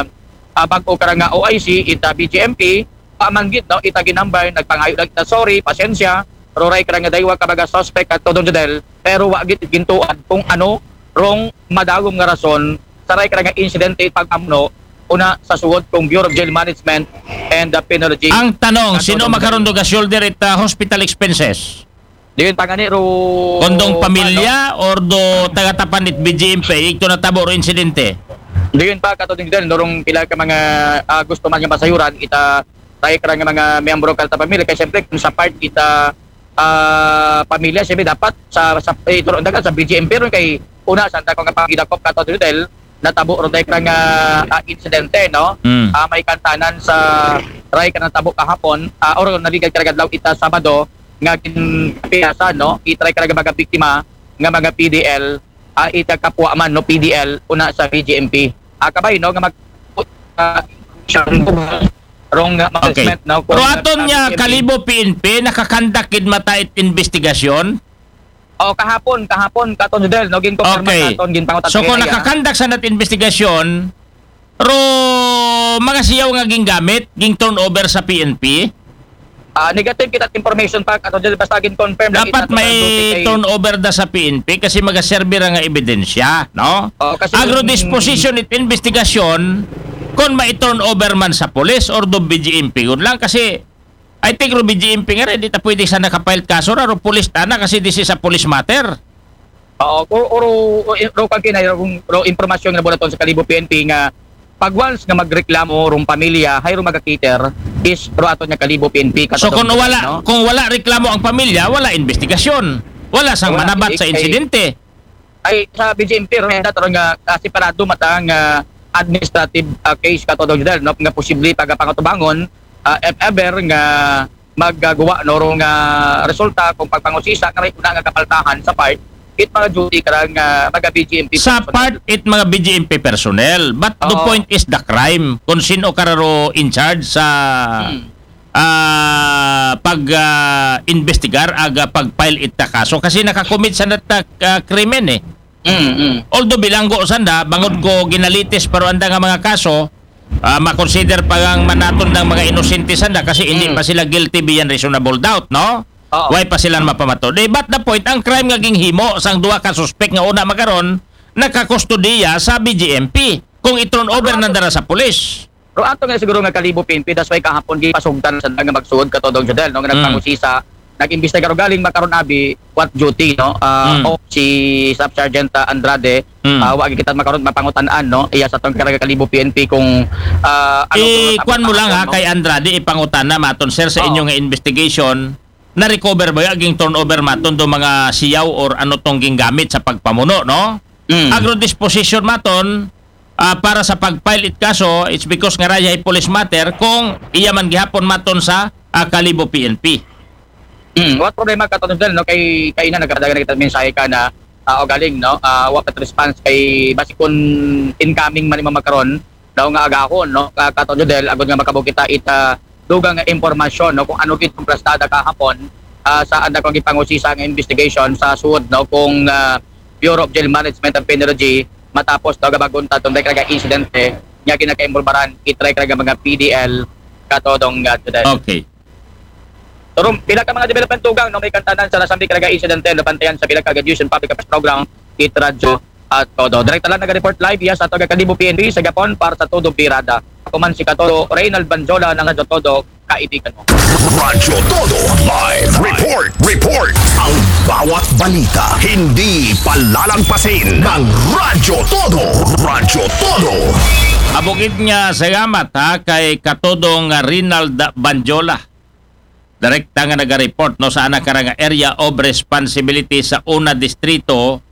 ah, bag-o kara nga O I C, ita B J M P, pa man gid, no, ita ginambay, nagpangayo lang ita sorry, pasensya, pero ray kara nga daywa ka baga suspect, Kato Jodel, pero wa gid gintuan kung ano rong madagom nga rason sa ray kara nga insidente, pag-amno una sa suod kong Bureau of Jail Management and the Penology. Ang tanong, sino man karon do ga-shoulder it, ah, hospital expenses? Diyon pa gani ro. Kon dong pamilya or do taga-tapan it B J M P, ito natabo ro insidente? Diyon pa, Kato Jodel, no, rong pila ka mga, ah, gusto man nga masayuran, ita ray kara nga mga miyembro kara ta pamilya, kay siyempre kung sa part ita, ah, pamilya, siyempre dapat sa, sa, eh, ito ron dagan sa B J M P ron, kay una sa dako nga pagidakop, Kato Jodel, natabo ron diay kara nga, ah, insidente, no? Mm. Ah, may kantanan sa ray kara natabo kahapon, ah, or naligad kara nga adlaw ita Sabado, nga ginpiyasan, no, it ray kara nga mga biktima nga mga P D L, ah, ita kapwa man, no, P D L, una sa B J M P. Ah, kabay, no, nga mag, ah, siya, rong, ah, Okay. management, no, Pero kung, aton ah, nga B J M P. Kalibo P N P, nakakandak gid mata it investigasyon? O, kahapon, kahapon, Kato Jodel, no, ginkonfirma Okay. naton, ginpangutan So, kung kanina, nakakandak sa nat investigasyon, ro mga siyaw nga ginggamit, ging turnover sa P N P? Ah, negative kita information pa, Kato Jodel, basta gin-confirm lang Dapat kita, may Kato Jodel, kay turnover da sa P N P kasi magaserbi ra nga ebidensya, no? Oo, kasi Agro yung disposition it investigation, kung mai-turnover man sa police or do B J M P, yun lang kasi I think ro B J M P nga rin, di ta pwede sa nakapile kaso ra, ro police tana kasi this is a police matter. Oo, o, o, o, ro kang kinay, ro, ro impormasyon nga nabunaton sa Kalibo P N P nga pag once nga magreklamo rong pamilya, hay ro magakater is ro aton nga Kalibo P N P, So kung katulad, wala, no? Kung wala reklamo ang pamilya, wala investigasyon. Wala sang Wala, manabat eh, sa eh, insidente. Ay, sa B J M P, ro, yan, dato nga, ah, separado mata nga administrative, ah, case, Kato Jodel, no, nga posible pagapangatubangon, ah, if ever nga magagawa, no, ro nga resulta kung pagpangusisa nga may una nga kapaltahan sa part it mga duty karang, ah, mga B J M P Sa personnel. Part it mga B J M P personnel, but the Oo. Point is the crime. Kung sino ka ro in charge sa Hmm. ah, pag ah, investigar aga pag-file ita kaso kasi nakakommit sa nata ah, krimen eh. Mm, mm. Although bilanggo sanda, bangod ko ginalitis pero anda nga mga kaso, ah, makonsider pa nga manaton ng mga inosente sanda kasi hindi Mm. pa sila guilty beyond reasonable doubt, no? Oo. Why pa sila mapamato? Di, but the point, ang crime nga ginghimo sang duha ka suspek nga una makaron, nakakustodiya sa B J M P. Kung i-turn over na dara sa pulis. Pero ato nga siguro nga Kalibo P N P, that's why kahapon gipasugtan sa nga magsuod, Kato Jodel, no, nga Mm. nagpangusisa, nag-imbestigar galing makaron abi what duty, no? Ah, Mm. O si Staff Sergeant, ah, Andrade, Mm. ah, wa kita makaron mapangutan-an, no? Iya sa tong karang Kalibo P N P kung, ah, ano Eh, to, kuan mo lang ha, no? Kay Andrade, ipangutana maton, sir, sa Oo. inyo nga investigation, na-recover ba yung turnover maton do mga siyaw or ano tong gingamit sa pagpamuno, no? Mm. Agro disposition maton, ah, para sa pag-file it kaso, it's because nga raya police matter kung iya man gihapon maton sa ah, Kalibo P N P. Mm, what problema, Kato Jodel, no? Kay, kay ina, nagkadagan na kita mensahe ka na, ah, o galing, no? Ah, wa pa response kay basi kun incoming man imo makaron, daw nga agahon, no? Ka-, Kato Jodel, agud nga makabog kita ita dugang nga impormasyon, no? Kung ano gid kung plastada kahapon, ah, sa anda kong gipangusisa nga investigation sa suod, no? Kung, ah, Bureau of Jail Management and Penology, matapos daw gabagon ta tong dahil kalaga insidente nga ginakaimbolbaran, itry kalaga mga P D L, Kato Jodel. Okay. Pero pila ka mga development tugang, no, may kantanan sa nasambit kalaga insidente, nabantayan sa pila ka News and Public Affairs Program, it Radyo at Todo. Direkta lang nag-report live, iya sa Toga Kalibo P N P, sa Gapon, para sa Todo Birada. Ako man si Katodo, Reynald Banjola ng Radyo Todo, kaibigan mo. Radyo Todo Live Report. Report. Ang bawat balita hindi palalagpasin ng Radyo Todo. Radyo Todo. Abugid nga salamat ha kay Katodong Rinald Banjola. Direkta nga naga-report, no, sa anak karang area of responsibility sa una distrito,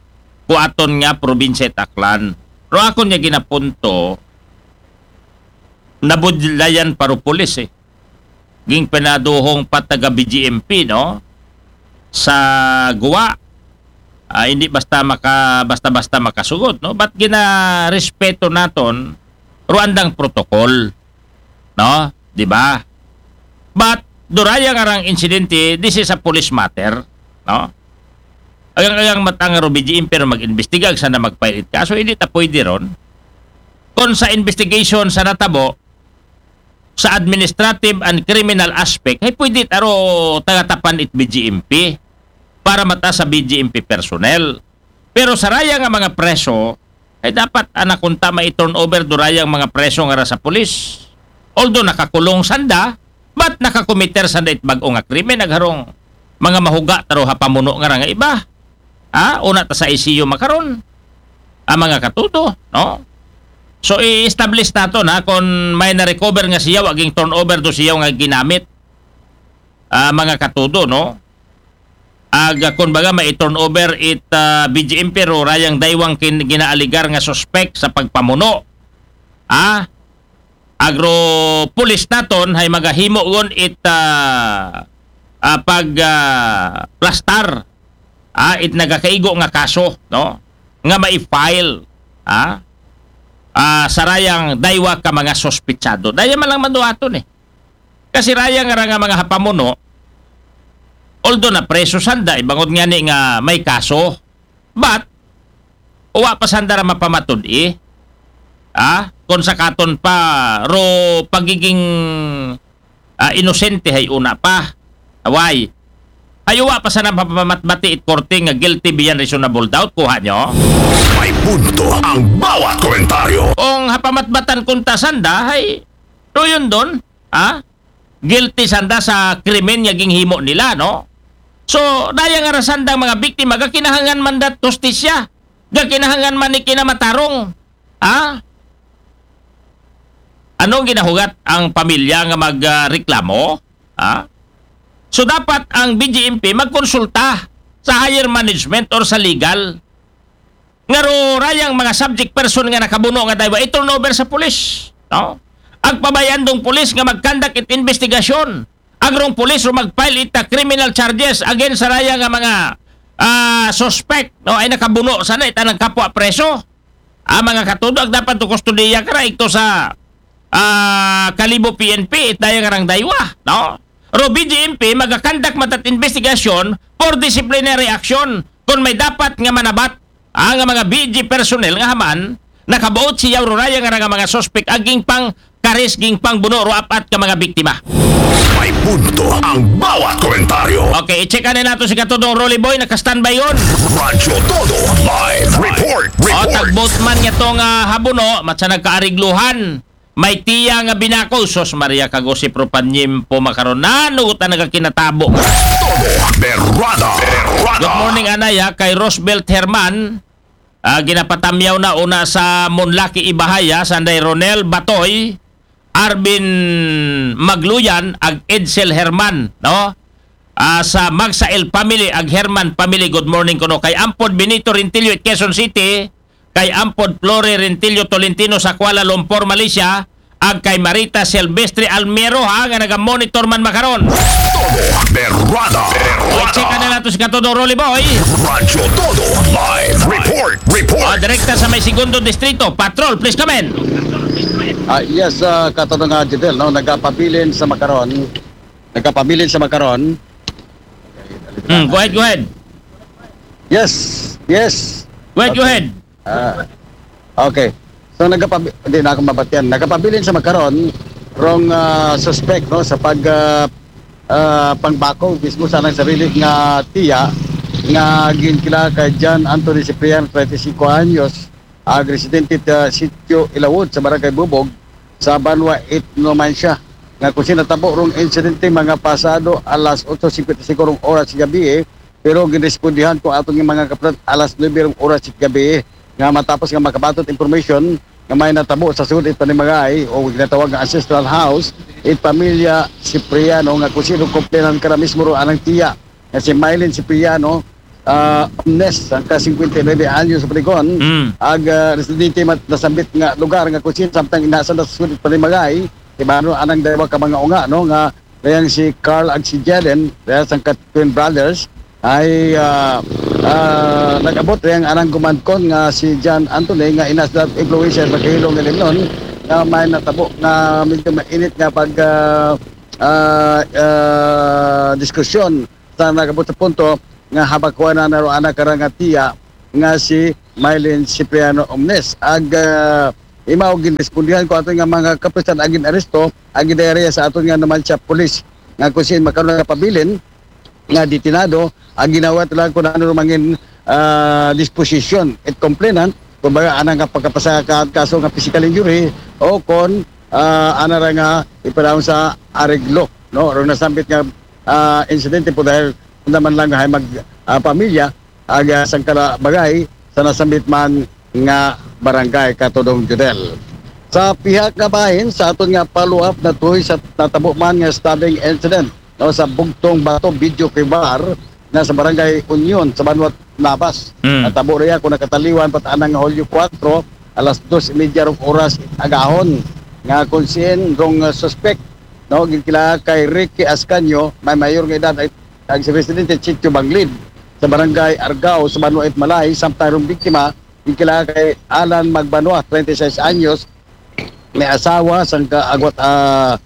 kuaton nga probinsya it Aklan. Pero akon nga ginapunto, nabudlayan pa ro pulis eh. Ging pinaduhong pa taga B J M P, no? Sa Guwa, Ah, hindi basta maka-, basta-basta makasugod, no? But ginarespeto naton ro andang protocol, no? Di ba? But duraya nga rang insidente, this is a police matter, no? Agang-agang matang ro B J M P ro mag-imbestiga, sanda mag-file it kaso, hindi ta pwede ron. Kung sa investigation sa natabo, sa administrative and criminal aspect, ay pwede ta ro tagatapan it B J M P para mata sa B J M P personnel. Pero sa raya nga mga preso, ay dapat ana kunta mai-turnover durayang mga preso nga ra sa pulis. Although nakakulong sanda, but nakakomiter sanda it bag-o nga krimen, agharong mga mahuga ta ro ha pamuno nga ra nga iba. Ha? Una ta sa I C U makaron. Ah, mga katudo, no? So, i-establish naton, ha, kung may na-recover nga siyaw, aging turnover do siyaw nga ginamit. Ah, mga katudo, no? Ag, ah, kung baga, mai-turnover it, ah, B J M P ro rayang daywang kin-, ginaaligar nga suspect sa pagpamuno. Ah? Agro pulis naton hay magahimo gon it, ah, ah, pag, ah, plastar, ah, it nagakaigo nga kaso, no? Nga mai-file, ah, ah, sa rayang daywa ka mga suspitsado. Daya man lang maduaton, eh. Kasi raya nga ra nga mga hapamuno, although na preso sanda, ibangod nga ni nga may kaso, but, uwa pa sanda ra mapamatud-i. Ah, kung sa katon pa, ro pagiging, ah, inosente hay una pa. Why? Hay uwa pa sana mapamatbati it korte nga guilty beyond reasonable doubt, kuha nyo? May punto ang bawat komentaryo. Ong hapamatbatan kunta sanda, hay, ro yun don, ah? Guilty sanda sa krimen nga ginhimo nila, no? So, daya nga ra sandang mga biktima, gakinahangan man dat hustisya. Gakinahangan man ni kinamatarong. Ha? Anong ginahugat ang pamilya nga magreklamo? Ha? So, dapat ang B J M P magkonsulta sa higher management or sa legal. Nga ro rayang mga subject person nga nakabuno nga daywa, i-turnover sa pulis, no? Agpabay-an dong pulis nga mag-conduct it investigasyon. Agrong pulis ro mag-file it, ah, criminal charges against sa raya nga mga, ah, suspect, no? Ay nakabuno sana it anang kapwa preso. Ah, mga katudo, ag dapat to kustodiya ka ra ito sa, ah, Kalibo P N P, it daya nga rang daywa, no? Ro B J M P, magakandak matat investigasyon for disciplinary action kung may dapat nga manabat, ah, nga mga B G personnel nga haman nakabuot siya ro raya nga nga mga suspect aging pang karis ging pangbuno ro apat ka mga biktima. May punto ang bawat komentaryo. Okay, i-check na nato si Katudong Rolly Boy, naka-standby yon. Radyo Todo Live Report. O, Report. tagbot man nga tong, ah, habuno, matsa nagkaarigluhan. May tiya nga binako, sos Maria Kagosip Ropanyimpo makaron. Nano ta nagakinatabo. Todo Berrada. Berrada. Good morning, anay, ha, kay Rosbelt Herman. Ah, ginapatamyaw na una sa Monlaki Ibahaya, sanday Ronel Batoy, Arvin Magluyan, ag Edsel Herman, no? Ah, sa Magsail family, ag Herman family, good morning kuno. Kay Ampod Benito Rintillo, Quezon City, kay Ampod Flore Rintillo Tolentino sa Kuala Lumpur, Malaysia, ag kay Marita Silvestre Almero, ha, nga naga-monitor man makaron. Todo Berrada. Check na nato si Katudong Rolly Boy. Radyo Todo Live Report. O, Report. direkta sa may segundo distrito. Patrol, please come in. Ah, yes, uh, Katudong, uh, Jidel, no, nagapabilin sa makaron. Nagapabilin sa makaron. Hmm, go ahead, go ahead. Yes, yes. Go ahead, go ahead. Ah, okay. So nagapab hindi na ako mabatian. Nagapabilin sa makaron rong, ah, suspect, no, sa pag, ah, ah, pangbako mismo sa nang sarili nga tiya nga ginkilala kay John Anthony Cipriano, treinta y cinco anyos, ag residente sa Sitio Ilawod sa Barangay Bubog sa Banwa eight, Numancia, nga kung sinatabo rong insidente mga pasado alas otso cincuenta y cinco rong oras sa gabi, eh, pero ginrespondihan ko ato nga mga kapatid alas nuebe rong oras sa gabi, eh, nga matapos nga makabatot information nga may natabo sa sud it panimagay o ginatawag nga ancestral house, it pamilya Cipriano nga kung sino komplenan ka na mismo ro anang tiya nga si Mylene Cipriano, ah, Omnes, ang ka cincuenta y nueve anyos sa Paligon, Mm. ag, ah, residente mat nasambit nga lugar nga kung sino samtang inasa na sa sud it panimagay, ibano anang daywa ka mga unga, no, nga dayang si Carl ag si Jalen, dayang sang ka twin brothers, ay ah, ah, nag-abot rin ang anang gumandkon nga si John Anthony nga ina sa influencer magkahilong nga limnon nga may natabo nga medyo mainit nga pag ah, ah, ah, diskusyon sa nag-abot sa punto nga habakuan na naroon na karang nga tiya nga si Mylene Cipriano Omnes. Ag ah, imaw ginrespondihan ko ato nga mga kapulisan agin aresto, agi diarya sa ato nga naman siya pulis nga kung saan makaroon nga pabilin nga detinado, ang ginawa lang kung ano mangin ah, disposition at complainant, kumbaga ana nga pagkapasa ka kaso nga physical injury o kon ah, ana ra nga ipanahon sa areglo, no? Ron nasambit nga ah, insidente po dahil naman lang hay mag ah, pamilya aga sangkala bagay sa nasambit man nga barangay, Katodong Judel. Sa pihak nga bahin sa aton nga follow-up na tuhoy sa natabo man nga stabbing incident, no, sa Bugtong Bato, Video Kibar, na sa Barangay Union sa Banwat Nabas. Mm. Natabo riya kung nakataliwan pat anang Hulyo kuwatro, alas dos y media rong oras agahon nga kung saan rong ah, suspek, no, ginkilala kay Ricky Ascanio, may mayor nga edad, ay ang si Presidente Chicho Banglid sa Barangay Argao sa Banwait Malay, samtang rong biktima ginkilala kay Alan Magbanwa, treinta y seis anyos, may asawa, sangka agwat ah,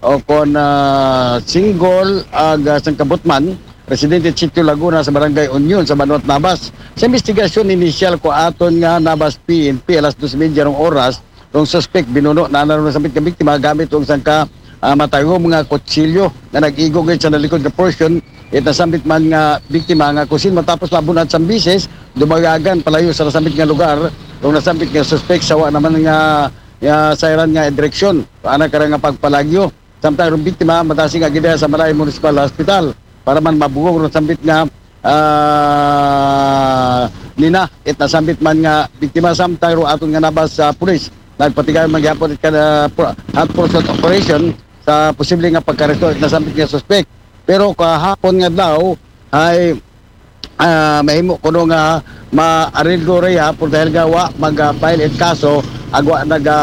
o kon ah, single, aga sangka butman, residente Sitio Laguna sa Barangay Union sa Banwat Nabas. Sa investigasyon initial ko aton nga Nabas P N P alas dos media rong oras, rong suspek binuno na naroon sa biktima gamit rong sangka ah, matagom nga kutsilyo nga nag-igo gid sa nalikod nga portion. It nasambit man nga biktima nga kusin matapos mabunat sa bisis, dumagagan palayo sa nasambit nga lugar. Rong nasambit nga suspek sawa naman nga, nga sayran nga direksyon. Ana kara nga pagpalagyo. Samtang rong biktima matasing agidaya sa Malay Municipal Hospital para man mabugong rong sambit nga ah, nina it nasambit man nga biktima. Samtang ro aton nga nabas sa pulis nagpatigay man gyapon it kada pro- hot pursuit operation sa posible nga pagkaresto it nasambit nga suspek. Pero kahapon nga daw ay ah, mahimo kuno nga maarilgo raya por dahil nga wa mag-file it kaso, agwa naga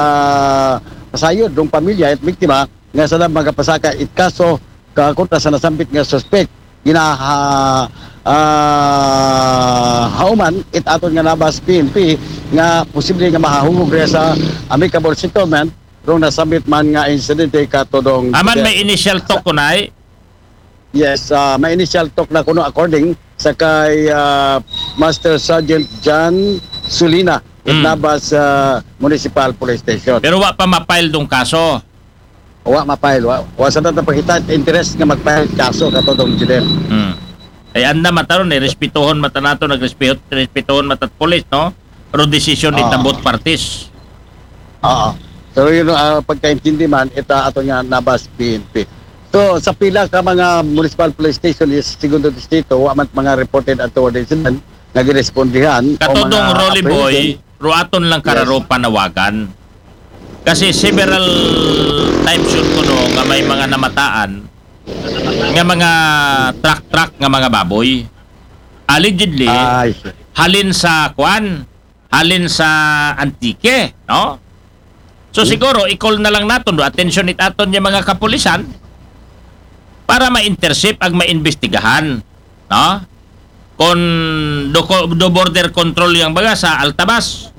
sayod rong pamilya it biktima nga sa magapasaka it kaso ka kontra sa nasambit nga suspek. Ginaha ah, hauman it aton nga nabas P N P nga posible nga mahahungog raya sa amicable settlement rong nasambit man nga insidente, Katodong Aman Fidel. May initial talk ko na. Yes, ah, may initial talk na kuno according sa kay ah, Master Sergeant John Sulina it Mm. nabas ah, Municipal Police Station. Pero wa pa ma-file dong kaso. Wa ma-file, wa, wa sa tatapakita interest nga mag-file kaso, Katodong Judel. Hmm. Ay, anda mataron eh, respetuhon mata nato, nagrespeto, respetuhon mata't pulis, no? Pero desisyon ni Ah. Tabot parties. Oo. Pero yun, ah, pagkaintindi man, ita ato nga nabas P N P. So, sa pila ka mga municipal police station is segundo distrito, wa man mga reported at incident nga girespondihan o Katodong mga Rolly Boy, apprehension. Ruaton lang kararo Yes. panawagan. Kasi several times yun kuno nga may mga namataan nga mga truck-truck nga mga baboy. Allegedly, Ay, sir. halin sa kwan, halin sa Antique, no? So, Hmm. siguro, i-call na lang naton, do, atensyon it aton nga mga kapulisan para ma-intercept ag maimbestigahan, no? Kon do, do border control yang baga sa Altabas,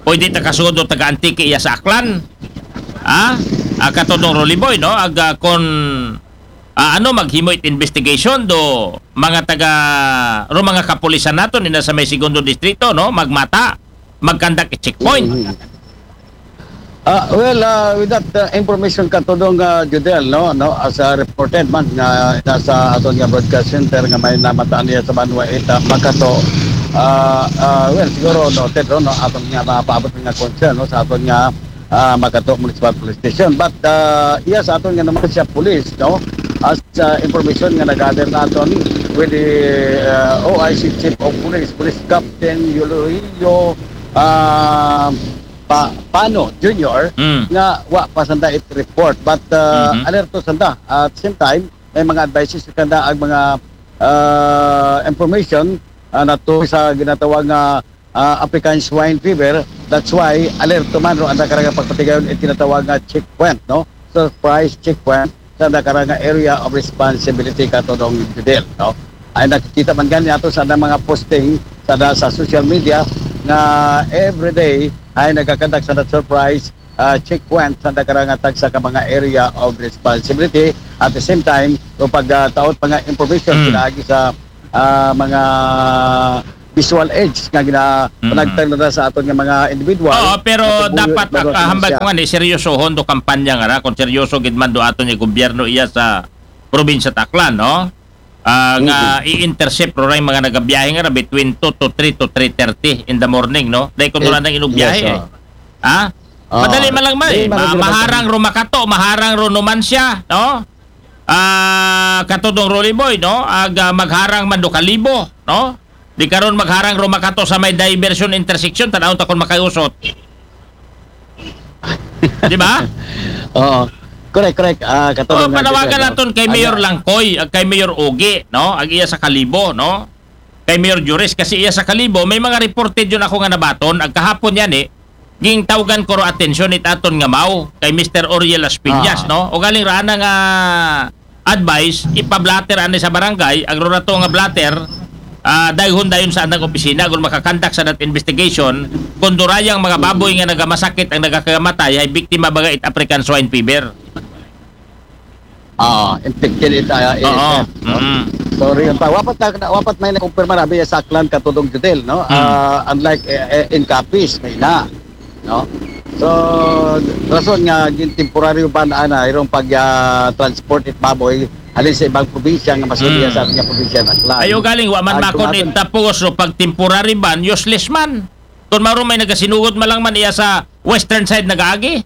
pwede ta kasudo taga Antique iya sa Aklan. Ha? Ah, Katodong Rolly Boy, no? Aga kon ah, ano, maghimo it investigation do mga taga, ro mga kapulisan naton ina sa may segundo distrito, no? Magmata, magkandak it checkpoint. Mhm. Ah, well, ah, with that ah, information, Katodong ah, Judel, no, no, as a reported man nga nasa aton nga broadcast center nga may namataan niya sa Banwa Ita Makato. Ah, ah, well, siguro noted ro, no, aton nga mapaabot nga concern, no, sa aton nga ah, Makato Municipal Police Station. But ah, iya sa aton nga naman siya police, no, as ah, information nga nag-gather naton with the ah, O I C Chief of Police, Police Captain Yulio ah, Pa- Pano Junior, Mm. nga wa pa sanda it report. But ah, Mhm. alerto sanda at same time may mga advices kanda ag mga ah, information ah, nato sa ginatawag nga ah, African Swine Fever. That's why alerto man ro anda karang pagpatigayon it tinatawag nga checkpoint, no? Surprise checkpoint sa anda karang area of responsibility, Katodong Judel, no? Ay nakikita man gani ato sa mga posting sa, sa social media nga everyday ay nagakandak sa surprise uh, checkpoint sa nakarang tagsa ka mga area of responsibility. At the same time, o pagtaot uh, mga information mm. Pinaagi sa uh, mga visual aids nga gina mm. Panagtang na sa aton nga mga individual. Oo, pero dapat kahambal ko nga ni seryosohon do kampanya nga ra kung seryoso gid man do aton nga gobyerno iya sa probinsya Aklan, no? Uh, nga mm-hmm. I-intercept ro ray mga nagabiyahe nga ra between two to three to three thirty in the morning, no? Dahil kung wala nang inugbiyahe yes, eh. Ha? Oh, madali man lang man eh. Ma- maharang ro makato, maharang ro numansya, no? Ah, uh, katudong Rolly Boy, no? Ag uh, magharang man do Kalibo, no? Di karon magharang ro makato sa may diversion intersection, tan-aw ta kon makayusot. Di ba? Oo. Correct, correct. Ah, katulad oh, panawagan naton kay Mayor Langkoy, ag kay Mayor Ogie, no? Ag iya sa Kalibo, no? Kay Mayor Juris kasi iya sa Kalibo, may mga reported yun ako nga nabaton, ag kahapon yan eh, ging tawgan ko ro atensyon it aton nga maw kay Mister Oriel Aspiñas, ah. No? O galing ra ana nga advice, ipa-blotter ani sa barangay, ag ro ra to nga blotter, ah, dayhon dayon sa andang opisina, kung makakandak sa that investigation, kung durayang mga baboy nga nagamasakit ang nagakamatay, ay biktima baga it African swine fever. Ah, infected it, uh, Oo. Mm. Sorry, pa wapat na wapat may nakumpirma na biya sa Aklan katudong Judel, no? Mm. Uh, unlike uh, in Capiz, may na, no? So rason nga gin temporaryo ban ana irong pag uh, transport it baboy halin sa ibang probinsya nga mas mm. Sa ating probinsya ng Aklan. Ayo galing wa man makon it tapos so pag temporary ban useless man. Kung maro may nagasinugod malang man iya sa western side nagaagi.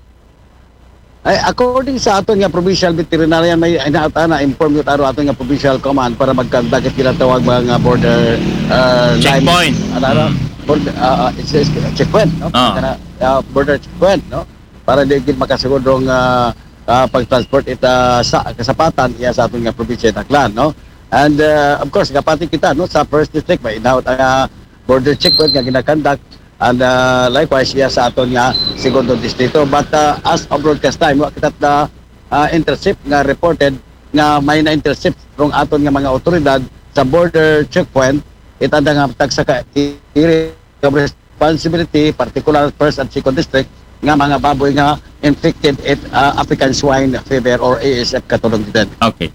Ay, according sa aton nga provincial veterinarian, may inaat na inform yun aro aton nga provincial command para magkandak it ginatawag mga border uh, checkpoint. Ano, ano, mm. Border, uh, it's, it's, checkpoint, no? Oh. Kana, uh, border checkpoint, no? Para di gid makasugod rong uh, uh, pag-transport ita sa kasapatan iya sa aton nga probinsya Aklan, no? And uh, of course, kapati kita no sa first district may inaot ang uh, border checkpoint nga ginakandak and uh, likewise iya sa aton nga segundo distrito. But uh, as of broadcast time, wa kita na uh, intercept nga reported nga may na-intercept rong aton nga mga otoridad sa border checkpoint itanda nga tagsa ka area of responsibility, particular first and second district nga mga baboy nga infected it uh, African swine fever or A S F katulong din. Okay.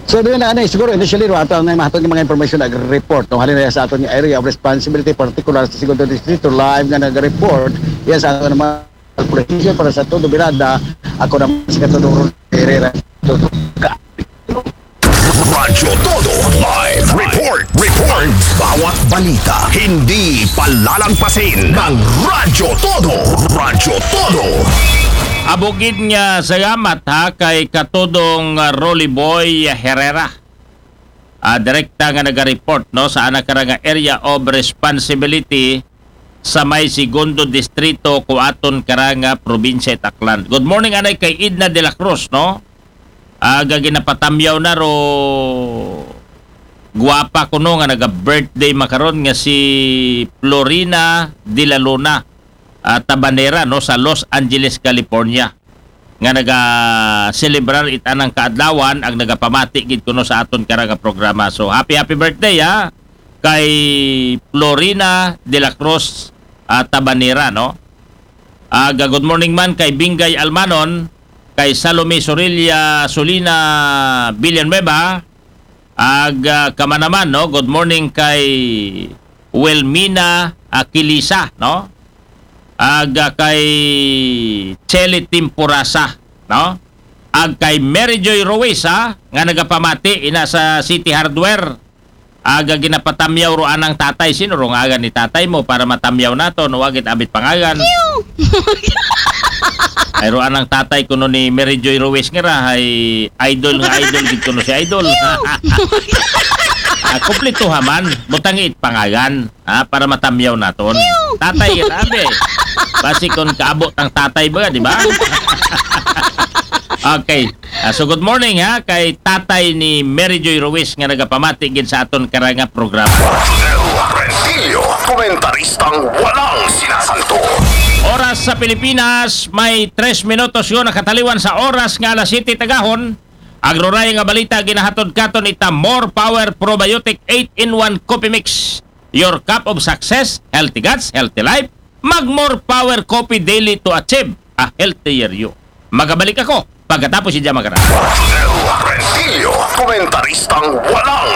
So doon na ano, siguro initially no, ato ang mga mga information ag report no halin sa aton nga area of responsibility, particular sa segundo distrito live nga nag-report iya sa aton mga probinsya para sa todo birada. Ako naman si Katudong Ron Herrera. Radyo Todo Live Report. Report. Bawat balita hindi palalagpasin ng Radyo Todo. Radyo Todo. Abugid nga salamat ha kay Katudong Rolly Boy Herrera. Uh, direkta nga naga-report no sa anak nga area of responsibility sa may segundo distrito kuaton karanga probinsya Aklan. Good morning anay kay Edna de la Cruz no. Aga ginapatamyaw na ro guwapa kuno nga naga-birthday makaron nga si Florina de la Luna uh, Tabanera no sa Los Angeles, California nga naga-celebrar itanang kaadlawan ag nagapamati gid kuno sa aton karanga programa. So happy happy birthday ha kay Florina de la Cruz uh, Tabanera no. Aga good morning man kay Bingay Almanon, kay Salome Sorilla Solina Villanueva, ag uh, kamanaman no, good morning kay Wilmina Aquilisa no. Ag uh, kay Chele Timporasa no. Ag kay Mary Joy Ruiz ha, nga nagapamati ina sa City Hardware. Aga ginapatamyaw ro anang tatay. Sino ro nga aga ni tatay mo para matamyaw nato no wagit abit pangagan? Ay ro anang tatay kuno ni Mary Joy Ruiz nga ra hay idol nga idol gid kuno si idol. Ah, kumpleto haman, butangi it pangagan ha, para matamyaw naton. Tatay gid abi. Basi kon kaabot ang tatay ba, di ba? Okay. Uh, so good morning ha kay tatay ni Mary Joy Ruiz nga nagapamati gid sa aton karanga programa. Rentilio, komentaristang walang sinasanto. Oras sa Pilipinas may tres minutos yo nakataliwan sa oras nga alas siyete tagahon. Agroray nga balita ginahatod katon ita More Power Probiotic eight-in-one Coffee Mix. Your cup of success, healthy guts, healthy life. Mag More Power Coffee daily to achieve a healthier you. Magabalik ako pagkatapos si Jama Garan. Rodel Rentillo, komentaristang walang